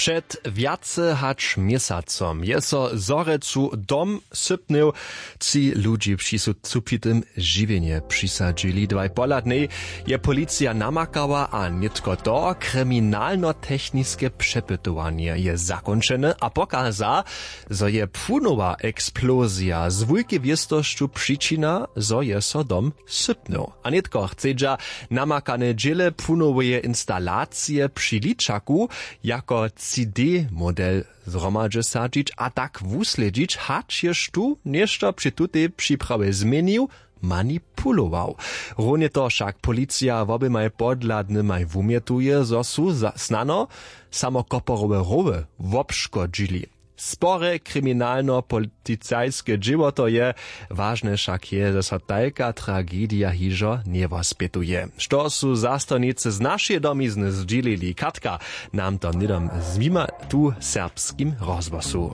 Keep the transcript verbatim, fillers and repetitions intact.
Před wjace hač měsacom je so w Zhorjelcu dom sypnył. Tři ludźi při su supitym žiwjenje přisadźili. Dwaj pohladnej je policija namakała a nětko to kriminalnotechniske přepytowanje je zakónčene a pokaza, zo je płunowa eksplozija z wulkej wěstosću přičina, zo je so dom sypnył. A nětko chcedźa namakane dźěle płunoweje instalacije při ličaku jako cd model zhromadźe sadźić a tak wuslědźić, hač ješ tu něšto při tutej připrawej změnił, manipulował. Runje to wšak policija woběmaj podhladnymaj wumjetuje, zo su snano samo koporowe rowy wobškodźili. Spore kriminalno-policajske dźěło to je. Wažne wšak je, zo so tajka tragedija hižo njewospjetuje. Što su zastojnicy z našeje domizny zdźělili, katka nam to hnydom zwima tu w serbskim rozhłosu.